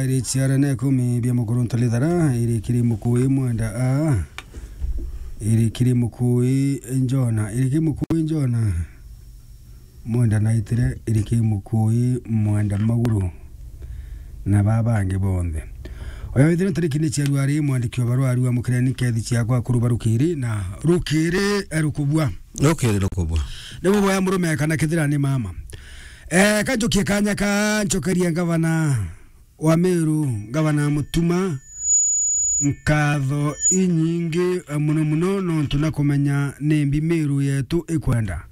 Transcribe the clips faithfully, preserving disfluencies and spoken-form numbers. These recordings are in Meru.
iri ciara na ikumi bia Mukuruntu Lithara, iri kiri Mukui Mwenda a, iri kiri Mukui Njona, iri kiri Mukui Njona. Mwenda naitire iriki Mukui, Mwenda Maguru, na baa bangi bonthe. Oya withire ntariki ni cia ruari, mwandiki wa barua arua mukireni kethi ciakwa kuru barukiri na rukiri, eh, rukubua. Rukiri rukubua. Ni buboya murume kana kithira ni mama. Eh, kanjukie kanya ka nchokeria ngavana wa Meru, Ngavana Mutuma, nkatho inyingi, eh, muno muno nontu na kumenya ni mbi Meru yetu ikwenda.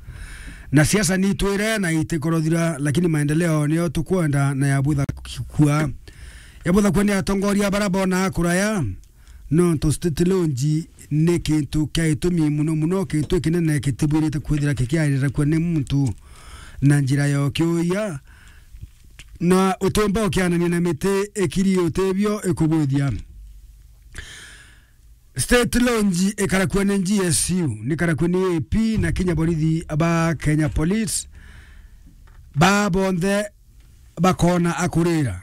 Na siasa ni itwire na itikorothira, lakini maendeleo niyo tukwenda na yabutha kua. Yabutha kua ni atongoria bara bona kuraya, nontu state launch ni kintu kia itumi muno muno, kintu kinene kitibwirite kwithira kikiarira kua ni muntu na njira ya ukiuya. Na utiumba ukianania na miti ikiri utibio ikubwithia. State launch ikarakua ni G S U, nikarakua ni A P na kinya borithi ba Kenya Police. Ba bonthe bakona akurira.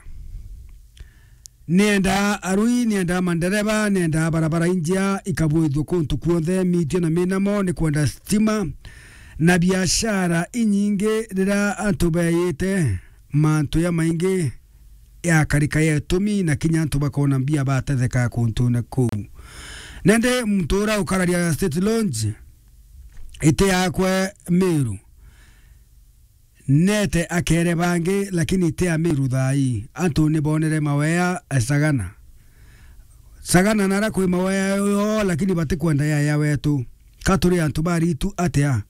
Nienda arui, nienda mandereba, nienda barabara injia ikabwithua kuntu kuonthe, mitio na minamo, ni kwenda stima na biashara inyingi. Rira antu beyite mantu ya maingi yakarika ya itumi, na kinya antu bakona mbia batetheka kuntune kuu. Nende muntu ura ukararia state launch iti yakwe Meru. Nete akere bangi, lakini ti Amiru thaa ii. Antu ni bonere mawea, eh, Sagana. Sagana nara kwi mawea yo, lakini batikwenda ya, ya wetu. Ka turi antu baritu atia?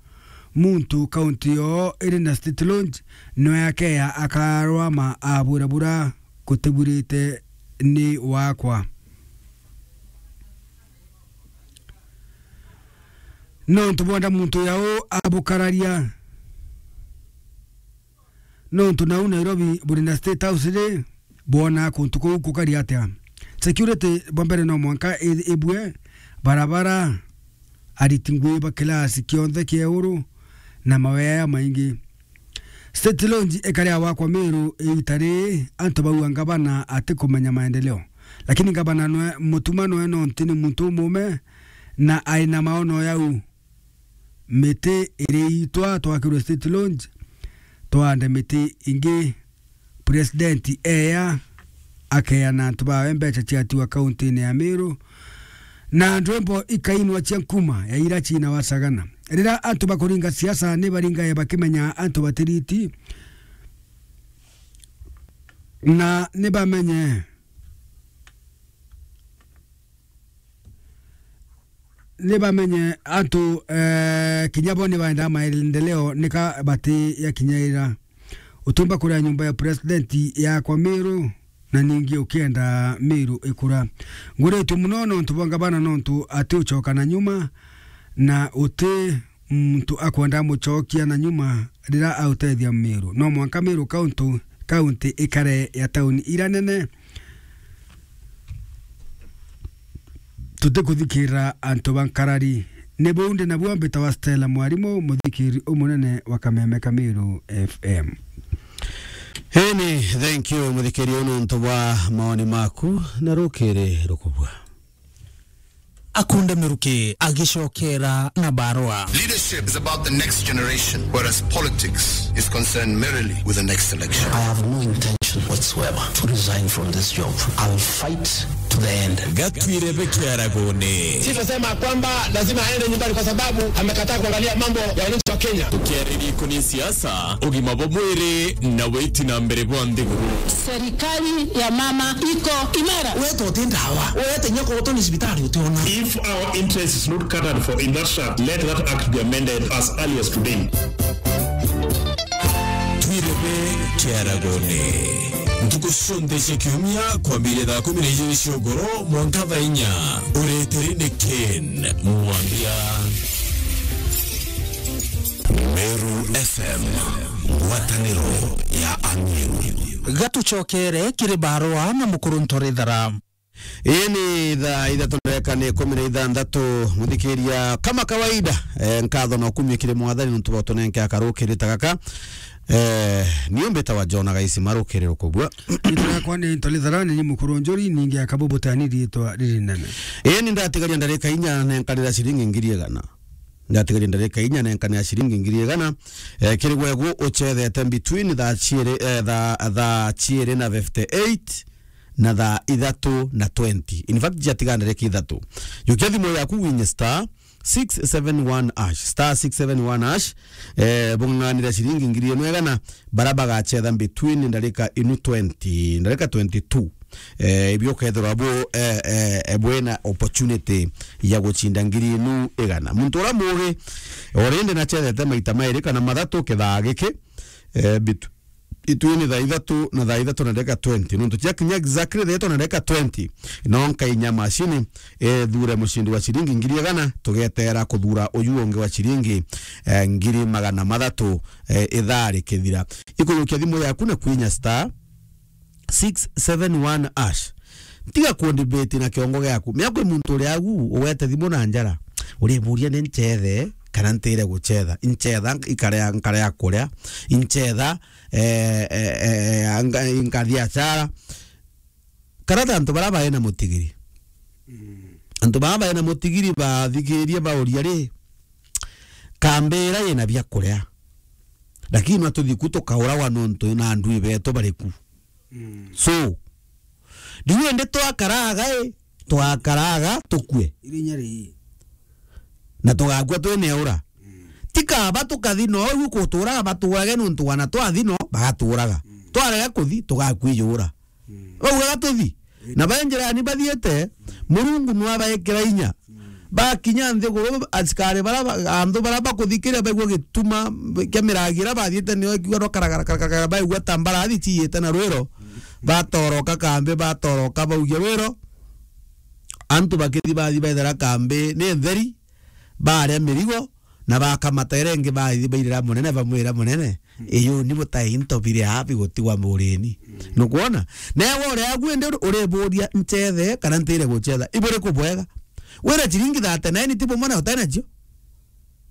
Muntu kaunti yo iri na state launch, nwe akeya akarwama abura bura kutiburite ni wakwa. Nontu bwenda muntu yau abukararia. Nontu nau Nairobi buri na State House ri, bwona kuntu kuu kukari atia? Security bwa mbere no mwanka i-, ibue, barabara, ariti ngui ba kilasi kionthe kia iguru, na mawea ya maingi. State launch ikari ya wakwa Meru iita riri, antu bauga ngavana atikumenya maendeleo. Lakini ngavana nwe, Mutuma nwe nonti ni muntu umume, na aina maono yau. Miti iri itwa twakirwe state launch, twande miti ingi. President eya akeana antu bawe mbeca ciatiwa kaunti-ini ya Meru, na ndwimbo ikainwa cia nkuma ya ira ciina wa Sagana. Rira antu bakuringa siasa, ni baringae bakimenya antu batiriti, na ni bamenye, ni bamenye antu, eh, kinya bo ni baendaa maendeleo, nika bati yakinya ira. Utumba kuria nyumba ya president yakwa Meru, na ningi ukienda Meru ikura. Nguritue muno nontu bwa ngavana, nontu ati ucoka na nyuma, na uti muntu akwenda mucokia na nyuma rira autethia Meru. No mwanka Meru kauntu, kaunti ikare ya tauni ira nene. Tutikuthikirira antu ba nkarari. Ni buu ndi nabuo, mbitawa Stella Mwarimu, muthikiri umunene wa Kameme ka Meru F M. Eni, thank you, muthikiri, unu ntu bwa maoni maku, na rukiri rukubua. Akunda Miruki agicokera na barua. Leadership is about the next generation, whereas politics is concerned merely with the next election. I have no intention whatsoever to resign from this job. I will fight to the end. Gatwire bekiaragone. Sisema kwamba lazima aende nyumbani kwa sababu amekataa kuangalia mambo ya wananchi wa Kenya. Tukiaririku ni siasa, ugima bwa mwiri na witi na mbere bwa nthiguru. Serikali ya mama iko imara. Wewe tote ndawa. Wewe tenya kwa utoni sibitari utiona. If our interest is not catered for in that shaft, let that act be amended as early as today. Twirebe kiaragone. Ntuku cionthe cia kiumia, kwambiria thaa kumi na ijiri cia ugoro mwanka thaa inya. Ureteri ni Ken Mwambia. Meru F M, ngwataniro ya Amiru. Gatucokere kiri barua na Mukuruntu Rithara. Ii ni thaa ithatu ndagika ni ikumi na ithanthatu, muthikiria. Kama kawaida, eh, nkatho na ukumio kiri Mwathani nontu bwa utunenke akarukiri ta gaka. Eh, niyo mbitawa John Agaisi Maru Kiriro Kubua. Riitwa riakwa ni Ntoli Tharani, ni mukuru njuri, ningi akabubuta ni riitwa riri nene. Ii, ni ndatigaria ndarika inya nenkanira ciringi ngiri igana. Ndatigaria ndarika inya nenkanira ciringi ngiri igana. Eh, kiri gwegu ucethete between thaa ciiri, eh, thaa, thaa ciiri na fifty-eight na thaa ithatu na twenty. In fact, ciatiga ndarika ithatu. Jukia thimu yaku winye star six seven one hash, star six seven one hash, eh, bung'ang'anire ciringi ngiri imwe igana, bara bagacetha between ndarika inu twenty, ndarika twenty-two. Eh, ibio ukethirwa bu, eh, eh, eh, bwina opportunity ya gucinda ngiri inu igana. Muntu uria muugi, already nacethete maita mairi kana mathatu kithaa giki, eh, bitu, itwini thaa ithatu na thaa ithatu na ndagika twenty. Nontu ciakinya exactly thaa ithatu na ndagika twenty, no nkainya macini, eh, ithure mucindi wa ciringi ngiri igana, tugeteera kuthura uyu ungi wa ciringi, eh, ngiri magana mathatu, eh, ithaa rikithira. Ikujukia thimu yaku na kwinya star six seven one hash. Tiga kundibiti na kiongo giaku. Mea kwi muntu uria agu ugwete thimu na njara. Uriburia ni ncethe kana ntire gucetha. Incetha ikarea, nkarea kuria. Incetha, eh, eh, eh, anga-, nkathi achara. Kana ta antu bara baina mutigiri. Mm. Antu bara baina mutigiri bathikirie bauria ri, kambi ira ina bia kuria. Lakini no tuthi ku tukauragwa nontu na ndui betu bari ku. Mm. So, riu indi twakaraga i, twakaraga tukue. Irinya ri. Na tugakua twine ura. Mm. Ti kaba tukathi no igu kuturaga baturage nontu wana twathi no bagaturaga. Mm. Twarega kuthi tugakua ijura. Mm. Baugaga tuthi. Mm. Na ba njirani bathiite, Murungu nwabaikira inya. Mm. Bakinya nthiguru, askari bara ba-, antu bara bakuthikiria baigua gituma kia miragi ira bathiite nio ikiuga no karagara, karagara, karagara, baigua ta mbarathi ciiyite na rwiro. Mm. Batoroka kambi, batoroka baugia rwiro. Antu bakithi bathi bethera kambi ni ntheri, baria mirigo, na bakamata iria ingi bathi bairira munene, bamwira munene, mm, iyu ni butai into biri aa bigutigwa murini. Mm. Nukwona? Newe uria agu indi uri-, uriburia ncethe kana ntire gucetha. Iburiku bwega? Wira ciringi thirty-nine ti bumwe na utai nacio?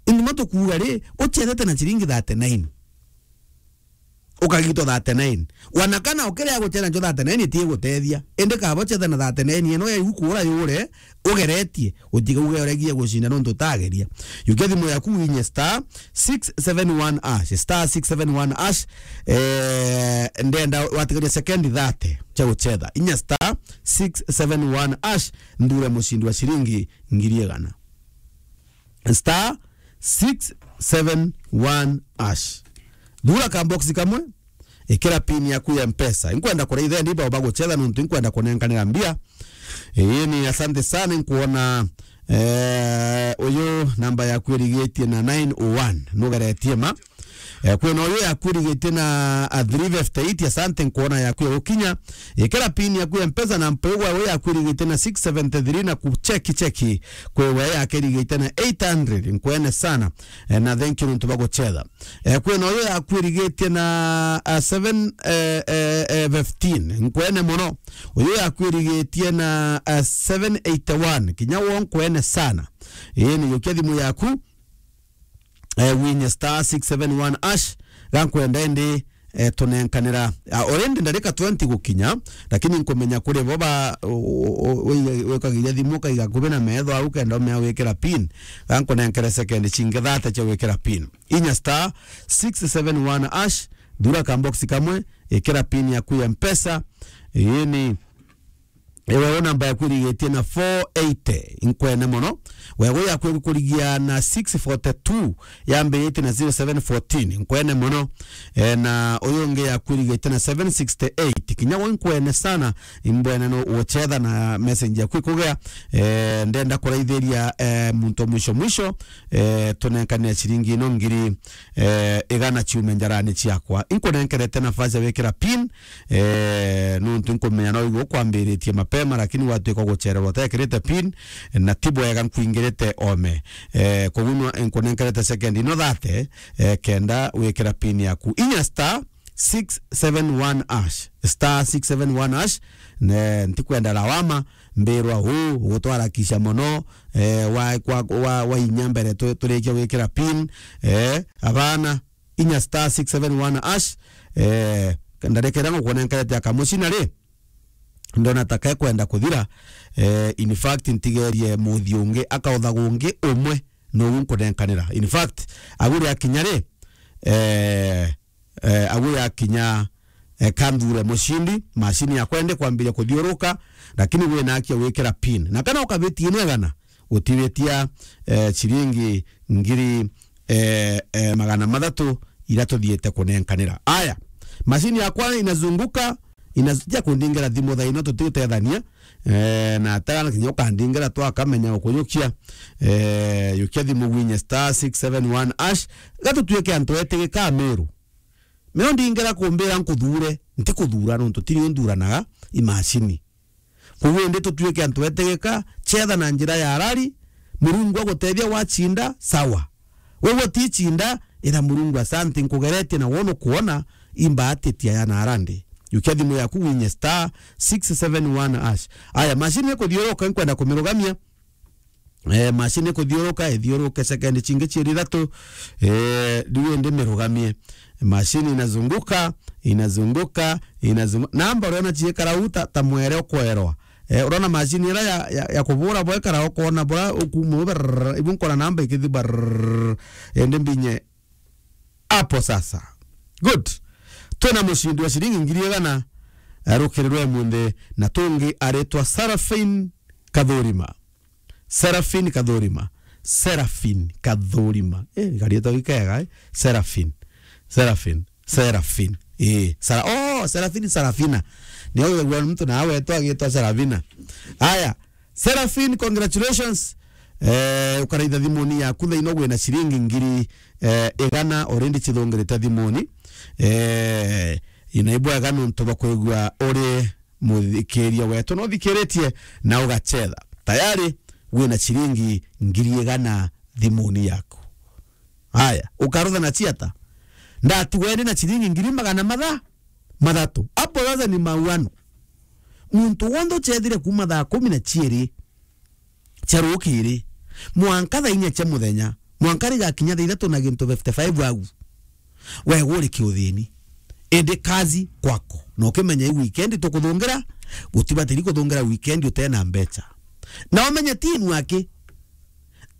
Indi ma tukuuga ri, ucethete na ciringi thirty-nine. Ukagitwa thirty-nine. Wana kana ukiria gucetha njo thirty-nine itigutethia. Indi kaba ucetha na thirty-nine ino ya igu kuura yure, ugeretie, utigauge uregie gucinda nontu utageria. Jukia thimu yaku winye star six seven one hash, star six seven one hash, eh, ndenda watigaria sekendi thirty cia gucetha. Inya star six seven one hash, nthure mucindi wa ciringi ngiri igana. Star six seven one hash. Thura ka box kamwe, ikira pin yaku ya Mpesa. Inkwenda kuraitha ndi bao bagucetha nontu inkwenda kunenkanira mbia. Ii ni asante sana, inkuona, eh, uyu namba yaku irigitie na nine oh one. Nugeretie ma. Eh, kwina uyu yaku irigitie na, ah, three fifty-eight, asante, nkuona yaku ya gukinya. Ikira pin yaku ya Mpesa na mpigwa uyu yaku irigitie na six seventy-three na kucheki cheki. Kwi we yake irigitie na eight hundred, nkwene sana. Eh, na thank you nontu bwa gucetha. Eh, kwina uyu yaku irigitie na, ah, seven, eh, eh, eh, fifteen, nkwene mono. Uyu yaku irigitie na, ah, seven eighty-one, kinya wo nkwene sana. Ii ni jukia thimu yaku. Eh, winye star six seven one hash, gankwenda indi, eh, tunenkanira. Ah, already ndarika twenty gukinya, lakini nkumenya kuri bo ba, u-, u-, u-, wikagiria thimu ukaiga ngubi na metho au kenda umea wikira pin. Gankunenkere sekendi cingi thirty cia wikira pin. Inya star six seven one hash, thura ka box kamwe, ikira pin yaku ya Mpesa. Ii ni Ewe, u namba yaku irigitie na four eighty, inkwene mono. Wegu yaku igukurigia na six forty-two, yambiritie na zero seven fourteen, inkwene mono. E, na uyu ungi yaku irigitie na seven sixty-eight, kinya we inkwene sana, imbwene no ucetha na message yaku ikugia. E, ndenda kuraithiria, e, muntu mwisho mwisho, e, tunenkanire ciringi ino ngiri, e, igana ciume njarani ciakwa. Inkunenkerete nafasi ya wikira pin, Eh, nuntu nkumenya no igu kwambiritie mapema, lakini watwika gucererwa utekirite pin, na ti bwega nkwingirite ome. Eh, koguo nwa-, nkunenkerete second ino thirty, eh, kenda wikira pin yaku. Inya star six seven one hash, star six seven one hash, ne, ntikwenda lawama, mbirwa uu, ugutwarakisha mono, eh, wa, kwa, wa, wa inya mbere tu-, turikia gwikira pin, eh, abana, inya star six seven one hash, eh, ndarekera ngukunenkerete aka mucina ri, ndona ta kekwenda kuthira, eh, in fact, ntigerie muthi ungi, akautha gungi umwe, nou nkunenkanira. In fact, aguri akinya ri, eh, eh, aguri akinya, eh, kanthure mucindi, macini yakwa indi kwambiria kuthiuruka, lakini wina aki ya gwikira pin. Na kana ukabitia ino igana, utibitia, eh, ciringi ngiri, eh, eh, magana mathatu iria tuthiite kunenkanira. Aya, macini yakwa inazunguka, inaz-, ja kundingera thimu thaa ino tutigutethania, eh, na atagana kinya ukandingera twakamenya ukujukia, eh, jukia thimu gwinye star six seven one hash, gatutuike antu etigika Meru. Meo ndingera kumbira nkuthure, ntikuthura nontu tini unthuranaga i macini. Koguo indi tutuike antu etegeka, chetha na njira ya arari, Murungu agutethia wacinda, sawa. Wewe uticinda, ira Murungu asante nkugeretie na wono kuona, imbaatitia ya na arandi. Jukia thimu yaku winye star six seven one hash. Aya, macini ikuthiuruka nkwenda kumirugamia. Eh, macini ikuthiuruka, ithiuruke sekendi cingi ciiri ithatu. Eh, riu indi mirugamie. Macini inazunguka, inazunguka, inazunguka. Namba uriona ciikara u ta, ta mwere ukwerwa. Eh, uriona macini ira ya, ya, ya kubura bwekara ukona bura ukuuma u brrrr, ibu nkona namba ikithi brrrr. Indi mbinye apo sasa. Good. Twina mucindi wa ciringi ngiri igana, eh, rukiri rwa imunthi, na tungi aritwa Sarafin Kathurima. Serafin Kathurima. Serafin Kathurima. Eh, garietwa gikega, eh? Serafin. Serafin. Serafin. Eh, Sara-, oh, Serafin, Sarafina. Ni au mtu na awe tu agitwa Sarafina. Aya, Serafin, congratulations. Eh, ukaraitha thimuni yaku thaa ino wina ciringi ngiri, eh, igana already cithungirite thimuni. Eh, ina ibwega nontu bwa kwigua uri muthikiria wetu na uthikiritie na ugachetha. Tayari wina ciringi ngiri igana thimuni yaku. Haya, ukarutha na ciata? Ndatigwe ndi na ciringi ngiri magana matha-, mathatu. Apo sasa ni mauano. Muntu wonthe uchethire kuuma thaa kumi na ciiri cia rukiri, mwanka thaa inya cia muthenya, mwanka rigakinya thaa ithatu na gintu fifty-five au, wegwa uri kiuthini. Indi kazi kwako. Na ukimenya i weekend tukuthungira, gutibatiri kuthungira weekend utena mbecha. Na umenye ti inwaki,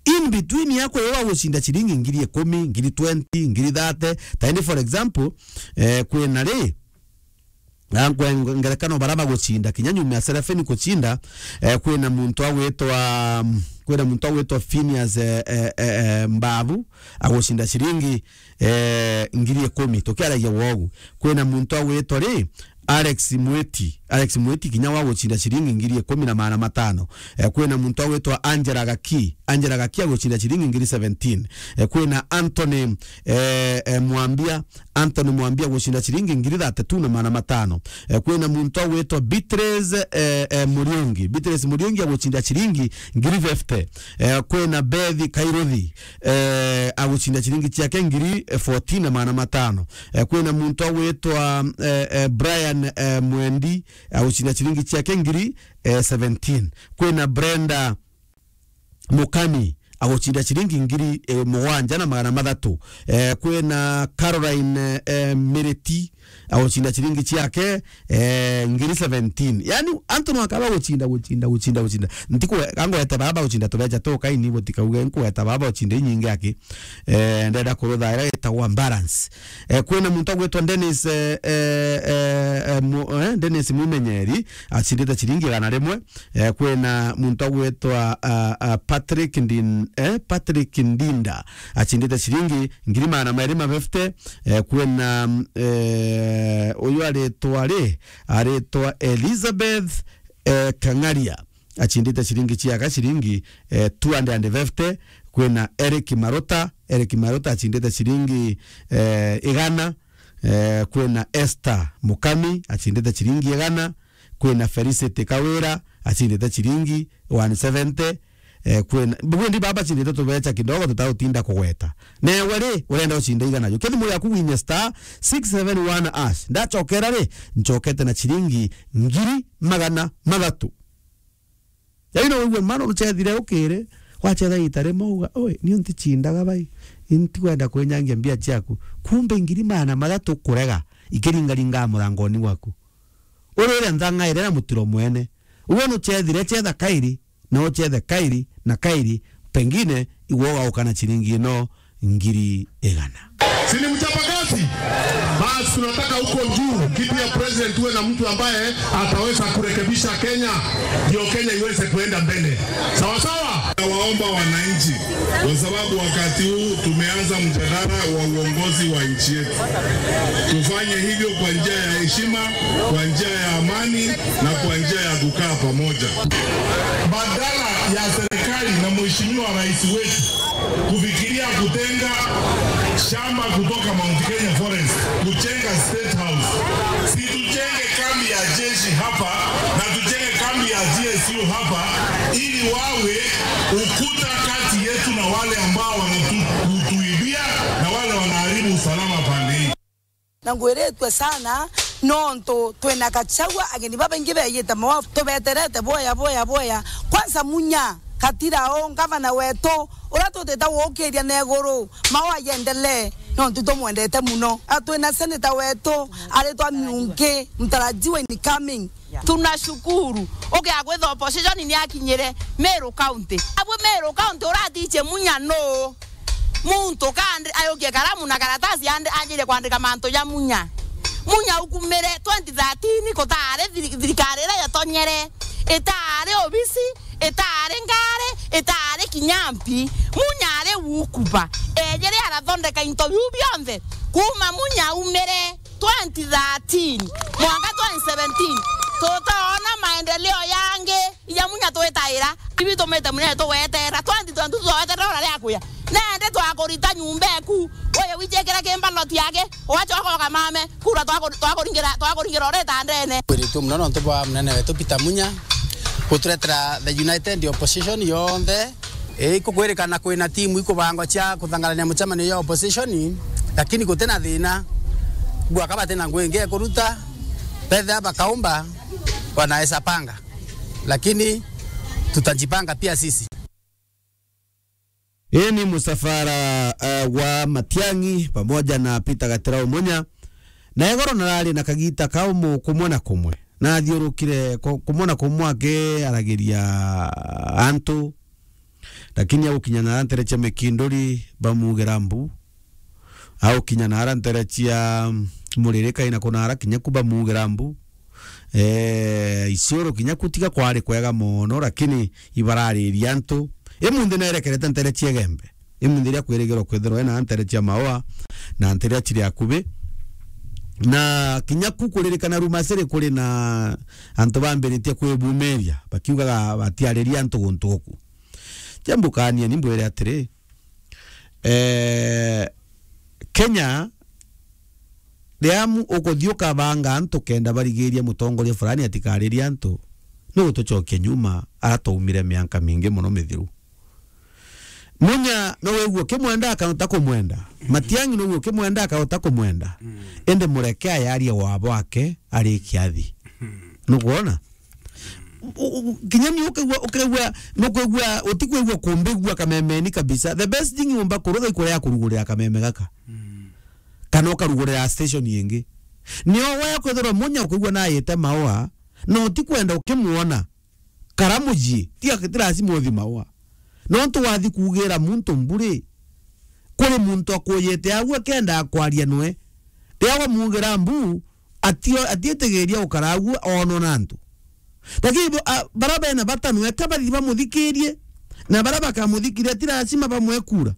in between yako yo wagucinda ciringi ngiri ikumi, ngiri twenty, ngiri thirty. Ta indi, for example, eh, kwina ri, na nkwe-, ngerekano bara bagucinda, kinya nyuma ya Serafini kucinda, eh, kwina muntu agwitwa, kwina muntu agwitwa Phineas, eh, eh, eh, eh, Mbabu, agucinda ciringi, eh, ngiri ikumi, tukiaragia wogu. Kwina muntu agwitwa ri, Alex Mwiti, Alex Mwiti kinya wagucinda ciringi ngiri ikumi na magana matano. Eh, kwina muntu agwitwa Angela Gaki, Angela Gaki agucinda ciringi ngiri seventeen. Eh, kwina Anthony, eh, eh, Mwambia, Anthony Mwambia agucinda ciringi ngiri thirty-two na magana matano. Eh, kwina muntu agwitwa Beatrice, eh, eh, Muriungi. Beatrice Muriungi agucinda ciringi ngiri fifty. Eh, kwina Bethi Kairuthi, eh, agucinda ciringi ciake ngiri fourteen na magana matano. Eh, kwina muntu agwitwa, eh, eh, Brian, eh, Mwendi, agucinda ciringi ciake ngiri, eh, seventeen. Kwina Brenda Mukami agucinda ciringi ngiri, eh, mugwanja na magana mathatu. Eh, kwina Caroline, eh, Miriti agucinda ciringi ciake, eh, ngiri seventeen. Yani, antu no akaba gucinda, gucinda, gucinda, gucinda. Ntiku-, kangwete baba gucinda tubecha tu kaini butikauge, nkweta baba ucinde inyingi aki. Eh, ndenda kurutha ira itagwa balance. Eh, kwina muntu agwitwa Dennis, eh, eh, eh, eh, mu-, eh, Dennis Mwimenyeri, acindite ciringi igana rimwe. Eh, kwina muntu agwitwa, ah, ah, Patrick Ndin-, eh, Patrick Ndinda, acindite ciringi ngiri magana meri ma fifty. Eh, kwina, mm, eh, uyu aritwa ri, aritwa Elizabeth, eh, Kang'aria, acindite ciringi ciaga ciringi, eh, two hundred and fifty. Kwina Eric Maruta, Eric Maruta acindite ciringi, eh, igana. Eh, kwina Esther Mukami acindite ciringi igana. Kwina Felicity Kawira acindite ciringi one seventy. Eh, kwina, bundi baba acindite tubecha kidogo tutautinda kugweta. Newe ri, urenda ucinda igana? Jukia thimu yaku winye star six seven one hash. Ndachokera ri, nchokete na ciringi ngiri magana mathatu. Yaani no wigue mano ruchethire ukiri, wachetha ita rimwe uga, "Oi, niu nticindaga bai." Intikwenda kwinyangia mbia ciaku. Kumbe ngiri magana mathatu kurega ikiringaringa murangoni waku. Urire nthang'aire na mutiro mwene. Uwe nucethire, cetha kairi, na ucethe kairi na kairi, pengine igwe ugauka na ciringi ino ngiri igana. Si ni mchapakazi? Basi tunataka huko juu, kiti ya president, uwe na mtu ambaye ataweza kurekebisha Kenya, ndio Kenya iweze kuenda mbele. Sawa sawa? Nawaomba wananchi, kwa sababu wakati huu tumeanza mjadala wa uongozi wa nchi yetu, tufanye hivyo kwa njia ya heshima, kwa njia ya amani na kwa njia ya kukaa pamoja. Badala ya serikali na mheshimiwa rais wetu kufikiria kutenga shamba kutoka Mount Kenya Forest kujenga State House, si tujenge kambi ya jeshi hapa na tujenge kambi ya G S U hapa, ili wawe ukuta kati yetu na wale ambao wanatuibia na wale wanaharibu usalama pande hii. Na ngwiritue sana, nontu twina Gachagua, ageni babaingi beeyite mawa, tubeterete bwaya, bwaya, bwaya. Kwanza Munya, Katirao, ngavana wetu, uria tutite guukiria na iguru, mawa yendelee, nontu tumwendete muno. A, twina senator wetu, aritwa Miungi, mtarajiwa incoming. Tunashukuru. Ukiaga kwitha opposition ni akinyire Meru County. Abwe Meru County uratichie Munya nuu? Muntu kandi ayukie karamu na karatasi ande-, anjirie kwandika mantu ja Munya. Munya ukumire twenty thirteen, kutaari thiri-, thirikari iria yatonyere, itaari obisi, itaari ngari, itaari kinya mpi. Munya ari wukuba. Ejire arathondeka into biu bionthe. Kuuma Munya umire twenty thirteen mwanka twenty seventeen, tutoona maendeleo yangi. Ija Munya twitaira, ibi tumite Munya tugwetera, twenty twenty-two tugwetera ura ria kuya. Nende twakurita nyumba eku, uye wichekera kimba loti yake, ugachoka ukamame, kura twaku-, twakuringira, twakuringira ureta ndene. Kwiritue muno nontu bwa munene wetu Peter Munya guturetera the united opposition yonthe. Ii, ikukwirikana kwina timu ikubangwa cia kuthangarania mucemanio ya opposition, lakini gutina thina. Gwaka batina ngui ingi ekuruta, bethia bakaumba, wanaweza panga. Lakini tutajipanga pia sisi. Hii ni msafara, uh, wa Matiang'i pamoja na Peter Gatirau Munya. Na igoro narari na kagita kaumu kumwe na kumwe. Na athiurukire ku-, kumwe na kumwe akiaragiria antu. Lakini agukinya nara ntere cia Mikinduri, bamugira mbu. Agukinya nara ntere cia, mm, Muririka ina kunara kinya ku bamugira mbu. Eh, Isiolo kinya ku tiga kwari kwega mono, lakini ibarariria antu. Imunthi nerekerete ntere cia Igembe. Imunthi iria kwirigirwa kwithirwa ina ntere cia Maua na ntere iria ciri akubi. Na kinya ku kuririkana Rumasiri kuri na antu bambiritie kwibumiria, bakiugaga batiariria antu guntu guku. Jambukania ni mbwire atiri, eh, Kenya, riria mu-, ukuthii ukabanga antu kenda barigiria mutongoria fulani atikaririe antu, ni gutucokia nyuma aria twaumire mianka mingi mono mithiru. Munya no wigua ukimwenda akauta kumwenda. Matiang'i no wigua ukimwenda akauta kumwenda. Mm. Indi mureke ayarie wa bwake ari kiathi. Mm. Nukwona? U-, u-, kinya ni ukigua, ukigua, nukwigua, utikwigua kumbigua kamemeni kabisa. The best thing umba kurutha ikuria ya kurugurira kameme gaka. Mm. Kana ukarugurira station ingi. Nio we ukwithirwa Munya ukwigua nayite Maua, na utikwenda ukimwona. Kara mucii, tiga ti lazima uthi Maua. Nontu wathi kuugira muntu mburi, kuri muntu akujite agu akenda akwaria nwe. Riria wamuugira mbu, atio-, atiitigiria gukara agu oonwa na antu. Lakini bo-, a, bara bena bata nwe ka bathi bamuthikirie, na bara bakamuthikiria ti lazima bamwe kura.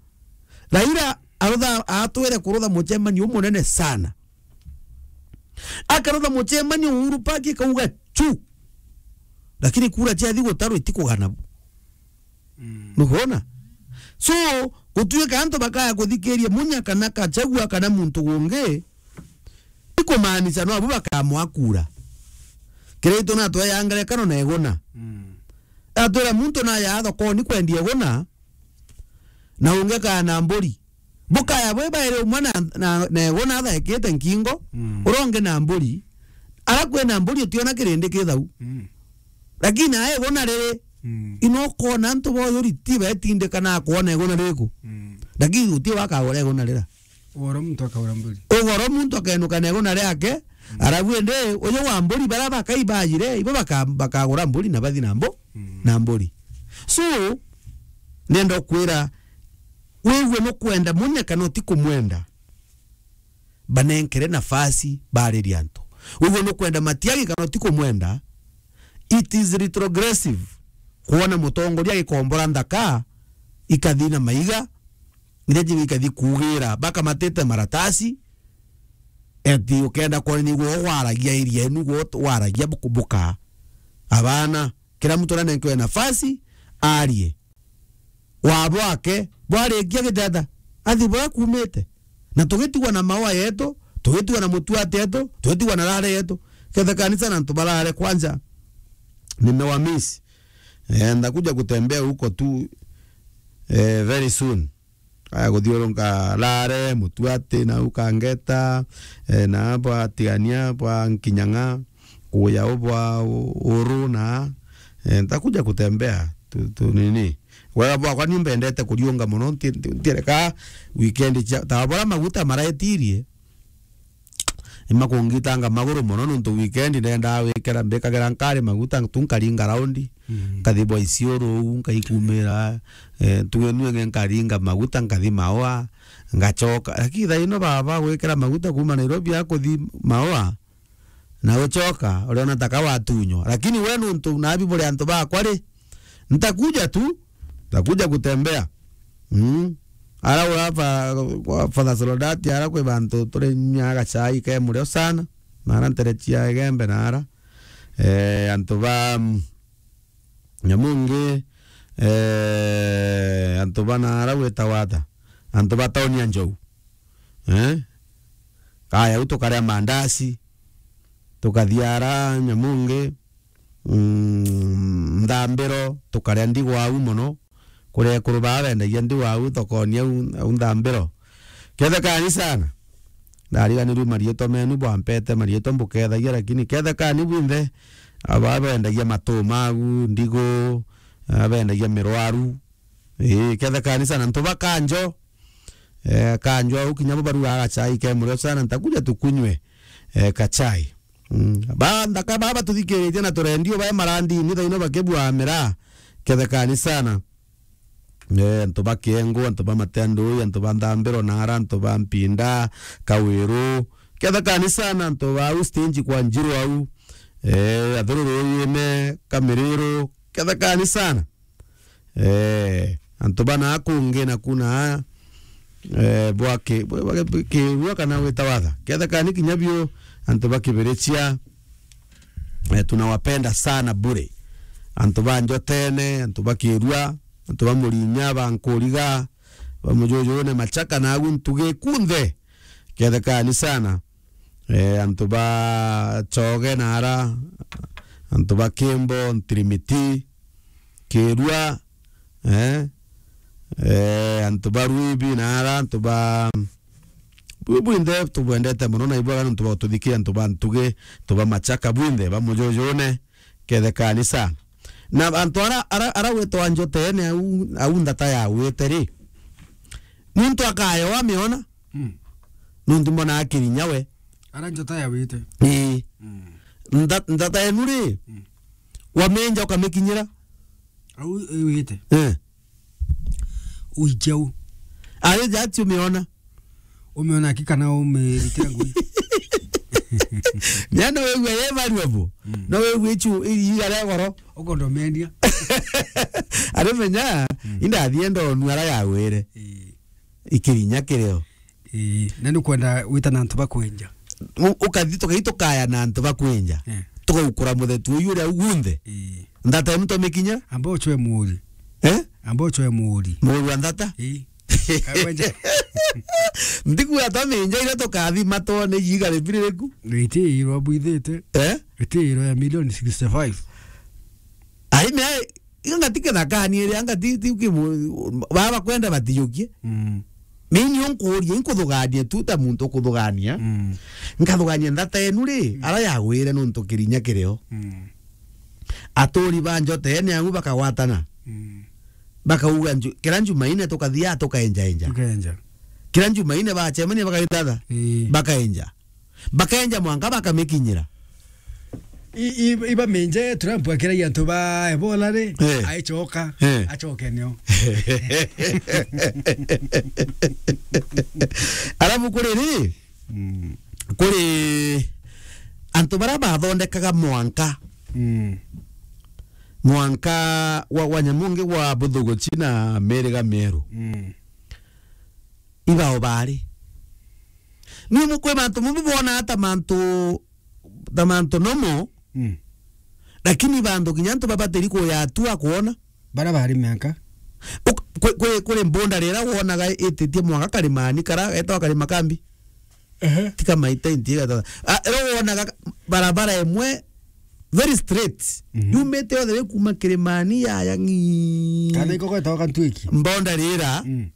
Raila arutha-, atwire kurutha mucemanio umunene sana. Akarutha mucemanio Uhuru Park ikauga chu. Lakini kura ciathi gutarwa itikugana bu. Mm. Nukwona? So, gutuika antu bakaya kuthikiria Munya kana Gachagua kana muntu gungi, ikumaanisha no abu bakamwa kura. Kiraitu natwe ya ngerekano na Iguna. Mm. Atwira muntu naya thokoni kwendia Iguna, na ungi akaya na mburi. Bukaya bwi bairi umwe na, na, na Iguna athaikite nkingo, mm, uria ungi na mburi. Ara kwina mburi utiona kirindi ki thau. Mm. Lakini ae Iguna riri, mm, ino ukona antu boyuri ti betindikana kwona Iguna riku. Mm. Lakini uti wakagura iguna rira. Ugoro muntu akagura mburi. Ugoro muntu akenuka na iguna riake, mm, arabu indi uyu wa mburi bara bakai bajire, ibo baka-, bakagura mburi na bathi na mbu-, mm, na mburi. So, nenda kwira, wigue nukwenda munya kana uti kumwenda, banenkere nafasi baririe antu. Wigue nukwenda Matiang'i kana uti kumwenda, it is retrogressive kwona mutongoria agikombora nthaka ikathi na maiga, iria jingi ikathi kuugira bakamatite maratasi, eti ukenda kwona niguo waragia area enu, guo waragia buku-, buka. Abana, kira muntu aranenkewe nafasi, arie. Wa bwake, bwarikia giteta, athi bura kumite. Na tugitigwa na maua yetu, tugitigwa na mutuati yetu, tugitigwa na rare yetu. Kethe kanisa na antu barare kwanja, nimewamiss. Eh, ndakuja kutembea huko tu, eh, very soon. Aya kuthiurunka Lare, Mutuati, na u Kangeta, eh, na bwa Tigania, bwa Nkinyang'a, kuya u bwa u-, Uru na, eh, ntakuja kutembea tu, tu nini. Wega bwakwa ni mbendete kuriunga mono, nti-, nti-, ntireka weekend cia, ta bora maguta maraetirie. Ima kungitanga maguru mono nontu weekend ndendaa wikira mbikagira nkari maguta tu nkaringa raundi. Mm. Nkathi bwa Isiolo uu, nkaikumira, eh, tuge nue nge nkaringa maguta, nkathi Maua, ngachoka. Lakini thaa ino baba gwikira maguta kuma Nairobi akuthi Maua, na uchoka, uriona taka watunywa. Lakini we nontu nabi buri antu bakwa ri, ntakuja tu, ntakuja kutembea. Mm. Ara ura fa-, kwa Father Solodati, ara kwi bantu turi nyuaga gachai ke murio sana. Na ara ntere cia Igembe na ara. Eh, antu ba, mm, Nyamungi, eh, antu ba na ara gwitagwa ata? Antu ba tauni ya Njou. Eh? Kaya u tukaria mandasi, tukathia ara Nyamungi, mm, Nthambiro, tukaria ndigwa au mono. Kuria ekuru baa bendagia ndigwa au thokoni au, au Nthambiro. Kethe kani sana. Ndariganirue marietwa menu, bwampete marietwa mbukethagia, lakini kethe kani bwinthe, aba bendagia matu magu, ndigu, aba bendagia mirwaru. Ii, kethe kani sana. Antu ba Kanjo, eh, Kanjo au kinya bo barugaga gachai ke murio sana, ntakuja tukunywe, eh, kachai. Mm. Ba nthaka baba tuthikiritie na turendio bae marandini thaino bakibua miraa. Kethe kani sana. Eh, antu ba Kiengu, antu ba Matendui, antu ba Nthambiro, Nara, antu ba Mpinda, Kawiru. Kethe kani sana, antu ba au stage kwa Njiru au. Eh, Athururu yine, Kamiriru. Kethe kani sana. Eh, antu bana kungi na kuna, eh, bwa ki-, bwa, bwa ki-, Kirua kana wita watha. Kethe kani kinya biu antu ba Kibirichia, eh, tunawapenda sana bure. Antu ba Njotene, antu ba Kirua, antu ba Murinya, ba Nkuriga, ba Mujujune, Machaka na agu ntugi kunthe. Kethe kani sana. Eh, antu ba Choge na ara, antu ba Kimbo, Ntirimiti, Kirua, eh, eh, antu ba Ruibi na ara, antu ba, bu-, bwinthe tubwendete mono na ibwaga nontu bwa ututhikia, antu ba Ntugi, antu ba Machaka, bwinthe ba Mujujune, kethe kani sana. Na antu ara, ara, ara gwitwa Njotene au, au nthata ya wite ri, muntu akayoa miona, mm, nontu mbona akirinya we. Ara Njota ya wite. Ii. Mm. Ntha-, nthata yenu ri, mm, wamenja ukamikinyira. Au, ii, wite. Eh. Uikia u. Ari jati umiona. Umiona ki kana umirikira ngui. Nya no wigua ye valuable. Mm. No wigua ichu iiga ria goro. Ukondo mendia. Ari menya, mm, indathie ndonu ara yagwire. Ii. Ikirinya kirio. Ii, na ni kwenda wita na antu ba kwenja. U-, ukathi tukathi tukaya na antu ba kwenja. Eh. Tugaukura muthetu uyu uria ugunthe. Ii. Nthata emu tomikinya? Amba uchwe muuri. Eh? Amba uchwe muuri. Muuri wa nthata? Ii. Kagwenja. Ndiku atominja ira tukathi matone yiga ribiririku. Riti iro bwithite. Eh? Riti iro ya milioni sixty-five. Ai me Iga ngati kithakani iria, ngati ti kimu-, baba kwenda batijukie. Mm. Mimi nkuuria, inkuthugania tu ta muntu ukuthugania. Mm. Nkathugania nthata enu ri, mm, ara yagwire nontu kirinya kirio. Mm. Aturi ba Njota ene angu bakagwatana. Mm. Bakauga nju-, kira Njumaine tukathia tukaenjaenja. Tukaenja. Kira Njumaine bacemania bakaithatha. Ii. Bakaenja. Bakaenja mwanka bakamikinyira. I-, i-, ibamenje Trump akiragia antu ba Ebola ri, eh, aicoka, eh, acoke nio. Alafu kuri ri, mm, kuri antu baria bathondekaga mwanka. Mm. Mwanka wa, wa nyamu ngi wa buthuguchi na miriga mieru. Mm. Ibao bari. Ni mu-, kwi bantu bamwe bonaga ta mantu, ta mantu normal, mm, lakini bantu kinya antu babatiri kuyatua kwona. Bara bari miaka. Uk-, kwi, kwi, kuri mbunda rira wonaga ititie mwanka karimani kara, getawa Karima Kambi. Ehe. Tika maita inti getawa. Ah, ro wonaga barabara imwe very straight. Mhm. Yumite yothe ri kuma kirimani yaya ng'i. Kana iko gwetawa Kantwiki. Mbunda rira. Mm.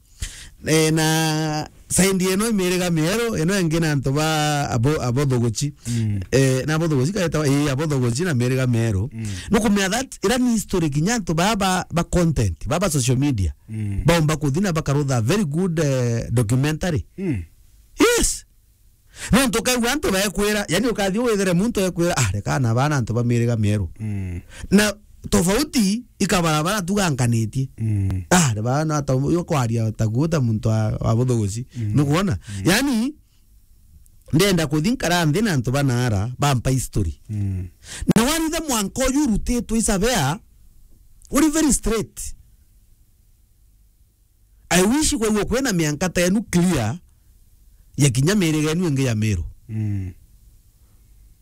Eh, na saindi ino imiriga mieru, ino ingi na antu ba abo-, abothogochi. Mm. Eh, na abothogochi kaetawa, ii, abothogochi na miriga mieru. Mm. Nukumenya that ira ni history kinya antu baa ba, ba content, baa ba social media. Mm. Baumba kuthi na bakarutha very good, eh, documentary. Mm. Yes. Nontu ukaigua antu bekwira, yani ukathi withire muntu ekwira, "Ah, reka na bana antu ba miriga mieru." Mm. Na tofauti ikabarabara tugankanitie. Mm. Ah, ni bana ta uyo kwaria ta guta muntu wa, wa buthuguci. Mm. Nukwona? Mm. Yani, ndenda kuthi nkara nthi na antu banaara, bampa history. Mm. Na waritha mwanka uyu urutitwe isabea, uri very straight. I wish kwaigua kwina mianka ta enu clear ya kinya miriga enu ingi ya Meru. Mm.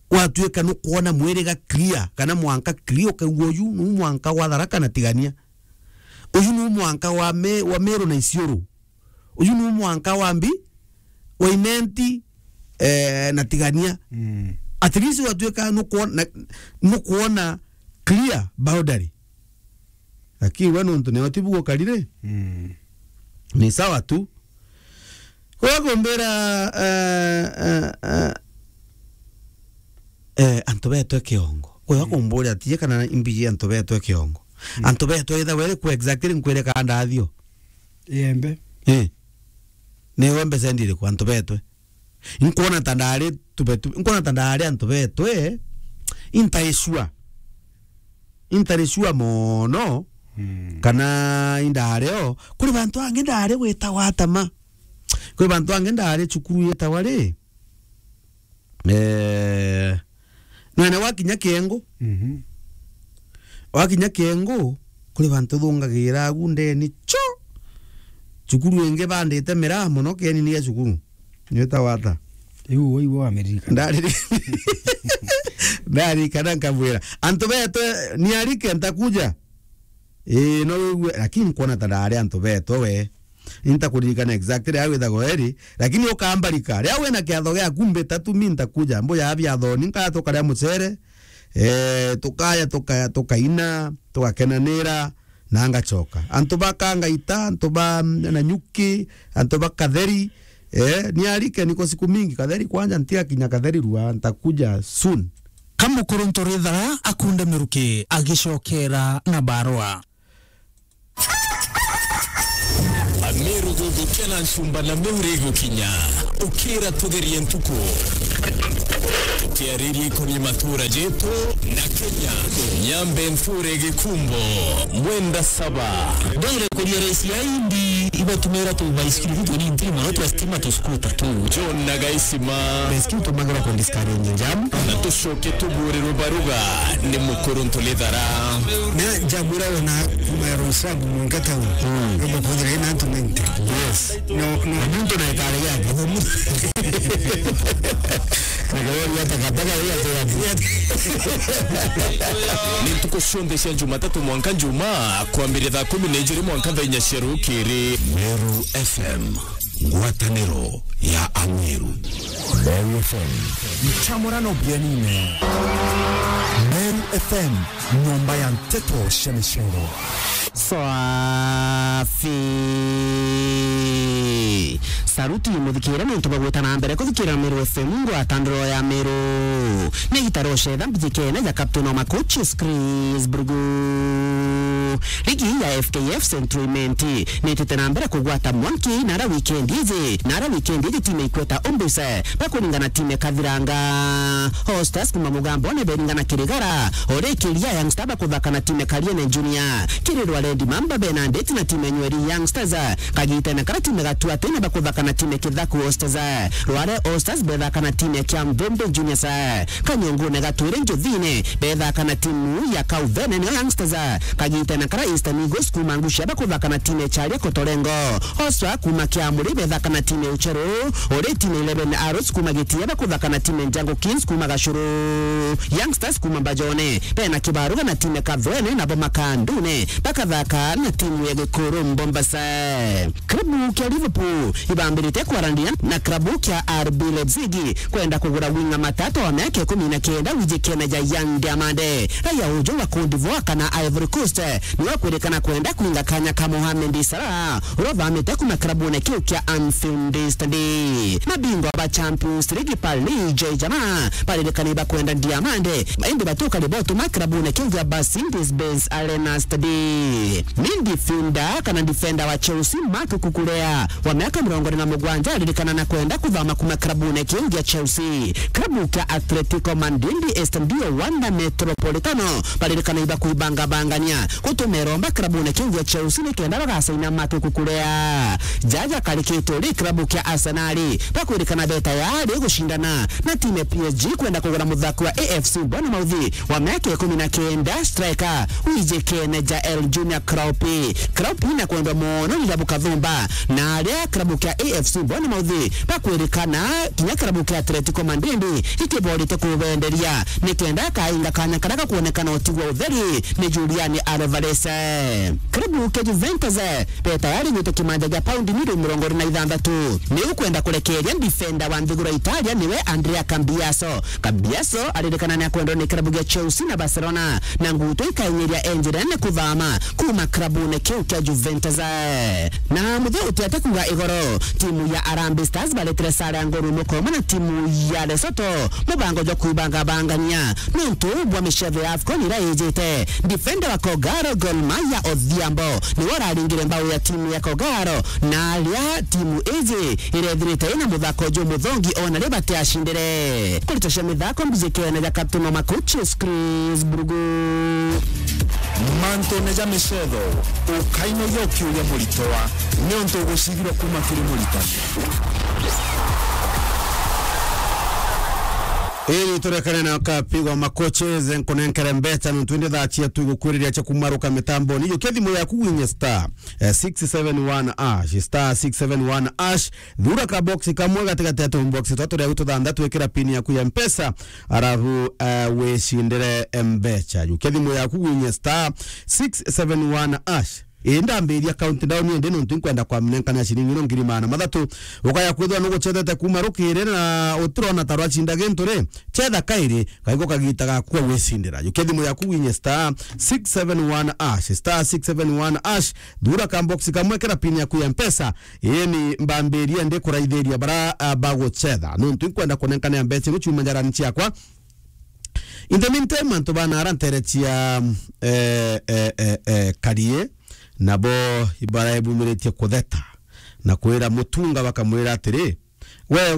Watuika nukwona mwiriga clear, kana mwanka clear, ukaigua uyu nu mwanka wa Tharaka na Tigania. Uyu nu mwanka wa Me-, wa Meru na Isiolo. Uyu nu mwanka wa Mbi, wa Imenti, eh, na Tigania. Mm. At least watuika nukwona, nukwona clear boundary. Lakini we nontu nio tibu gukarire. Mm. Ni sawa tu. Kwa kumbira, eh, eh, eh, eh, antu betwe kiongo. Kwa, mm, kumburia tie kana imbiji antu betwe kiongo. Mm. Antu betwe itha were ku exactly nkwire ka ndathio. Iembe. Eh. Ni wembe sendire ku antu betwe. Nkwona ta ndari tubetu, nkwona ta ndari antu betwe, intaisua. Intarisua mono, mm, kana indari o. Kuri bantu angi ndari gwitagwa atama. Kuri bantu angi ndari cukuru yitagwa ri? Eh, nwene wakinya Kiengu. Mhm. Wakinya Kiengu, kuri bantu thungagira agu ndeni cho. Cukuru ingi bandite miraa mono kieni ni ya cukuru. Nitagwa ata? Iu, iu wa Amerika. Ndari-, ndarikana nkabwira. Antu betwe, niarike ntakuja. Ii, no wigue, lakini nkwona ta ndari antu betwe we. Intakuririkana exactly aria withagwa eri, lakini ukambarika. Riria wina kiatho giaku mbita tu, mi ntakuja. Mbuya biathoni, nkaya tukaria mucere, eh, tukaya, tukaya, tukaina, tugakenanira, na ngacoka. Antu ba Kangaita, antu ba, mm, Nanyuki, antu ba Katheri, eh, niarike niko siku mingi. Katheri kwanja ntigakinya Katheri rua, ntakuja soon. Kamukuruntu Rithara akunde miruki agicokera na barua. Ameru guthukia na ncumba na miuri igukinya. Ukira tugerie ntuku. Tukiariria ikonie matura jetu na Kenya. Nyambe nthure Gikumbo, Mwenda Saba. Ndwire kuria raisi ya indi ibatumira tu baisikiri tu tunini mono twa stima tu skuta tu. John na Gaisima. Baisikiri tumagira ku discourage jam. Na tucoke tuburirwe baruga ni Mukuruntu Rithara. Na jam ira wona kuma ya Roysambu mwanka town. Mm. Roma kuthira ina antu ninety. Yes. No, no. Muntu na ikare yake. Ni ntuku cionthe cia Jumatatu mwanka Njumaa, kwambiria thaa kumi na ijiri mwanka thaa inya cia rukiri. Meru F M, ngwataniro ya Ameru. Meru F M. Nchamurano bianine. Meru F M, nyomba ya nteto cia micoro. Swafi. Saruti muthikire nontu bwa gwita na mbere kuthikira Meru F M, ngwatandiro ya Meru. Ni gitaro cetha mbijikene ja Captain wa Makochi, Chris Burgu. Ligi ya F K F Central Imenti nitite na mbere kugwata mwanki nara wikendi iji, nara wikendi iji timu ikweta Umbuse bakuringana timu Kathiranga. All Stars kuma Mugambone beringana Kirigara, urikiria Young Star bakuthaka na timu Kariene Junior. Kirirwa Red Mamba bena ndeti na timu Nyweri Young Stars. Kagitene kara timu Gatuatene bakuthaka na timu Kithaku All Stars. Rware All Stars bethaka na timu kia Mvembe Juniors. Kanyongune Gatwire Njuthine bethaka na timu ya Kauvene nio Youngsters. Kagitene kara Eastern Eagles kuma Ngucia bakuthaka na timu ya Charia Kotorengo. Oswa kuma Kiamuri bethaka na timu ya Ucheru. Uri timu eleven Arrows kuma Gitia bakuthaka na timu ya Njangu Kings kuma Gacuru. Youngsters kuma Mbajone bena kibaruga na timu ya Kathwene nabo Makandune bakathaka na timu ya Gikuru Mbombasa. Klabu kia Liverpool ibambirite kwaraniria na klabu kia R B Leipzig kwenda kugura winga matata wa miaka ikumi na kenda wijikene ja Yan Diomande. Raia uju wa Cote d'Ivoire kana Ivory Coast niwe kwirikana kwenda kwinga kanya ka Mohamed Salah uria uthamite kuma klabune kiu kia Anfield Stadium. Mabingwa ba Champions League Paris Saint-Germain baririkana ibakwenda Diomande indi batuka ribotuma klabune kiu kia Mercedes-Benz Arena Stadium. Midfielder kana defender wa Chelsea Marc Cucurella wa miaka mirongo iri na mugwanja aririkana na kwenda kuthama kuma klabune kiu gia Chelsea. Klabu kia Atletico Madrid Estadio Wanda Metropolitano baririkana ibakuibangabangania gutuma iromba klabune kiu gia Chelsea nikenda bagasaina Marc Cucurella. Jaja karikite uri klabu kia Arsenal bakwirikana beta yari gucindana na timu ya P S G kwenda kugura muthaki wa A F C Bournemouth wa miaka ikumi na kenda, striker wijikene Jael Junior Kropp. Kropp na kwendwa mono ni Rabu Kathumba, na aria klabu kia A F C Bournemouth bakwirikana kinya klabu kia Atletico Madrid ikiborite kubenderia nikenda akainga kanya karia gakwonekana utigwa utheri ni Julian Alvarez. Klabu kia Juventus be tayari gwita kimanja gia paundi milioni mirongo iri na ithanthatu ni ukwenda kurekeria defender wa nthiguru ya Italia niwe Andrea Cambiaso. Cambiaso aririkana ni akwendwa ni klabu gia Chelsea na Barcelona, na nguto ikainyiria enjirene kuthama kuma klabune kiu kia Juventus. Na muthe utiate kuga igoro, timu ya Harambee Stars baretire sare ya ngori umwe kwa umwe na timu ya Lesotho, mubango jwa kuibangabangania nontu bwa micetho ya AFCON ira ijite. Defender wa Kogalo Gor Mahia Odhiambo niwe uraringire mbau ya timu ya Kogalo, na aria timu iji irethirite ina muthako jumuthongi ona ri batiacindire. Kurita cia mithako mbijikene ja Captain wa Makuchis Chris Brugu. Mantune ja micetho, ukainogia ukiuria muritwa niuntu ugucigirwa kuma kiri muritani. Iri turekane na kapi wa Makuchis nkunenkere mbecha nontu indi thaa ciatu igukwiriria cia kumaruka mitamboni. Jukia thimu yaku winye star, eh, six seven one ash, star six seven one ash. Thura ka box kamwe gatigati ya tubox twa turia tuthanthatu, ikira pin yaku ya Mpesa, arabu, eh, wicindire mbecha. Jukia thimu yaku winye star six seven one ash. Ii ndambiria countdown indi nontu nkwenda kwamnenkana ciringi ino ngiri magana mathatu. Ukaya kwithwa nugucethete kuma rukiri na utirona ta rwacinda gintu ri, cetha kairi, kaigwa kagita gaku ga gwicindira. Jukia thimu yaku winye star six seven one ash, star six seven one ash, thura ka box kamwe, kira pin yaku ya Mpesa. Ii ni mbambiria ndi kuraithiria bara, ah, bagucetha. Nontu nkwenda kunenkanira mbecha ino ciuma njarani ciakwa. In the meantime, antu bana ara ntere cia, eh, eh, eh, eh, Karie, nabo ibaraebumiritie kutheta na kwira Mutunga, bakamwira atiri, we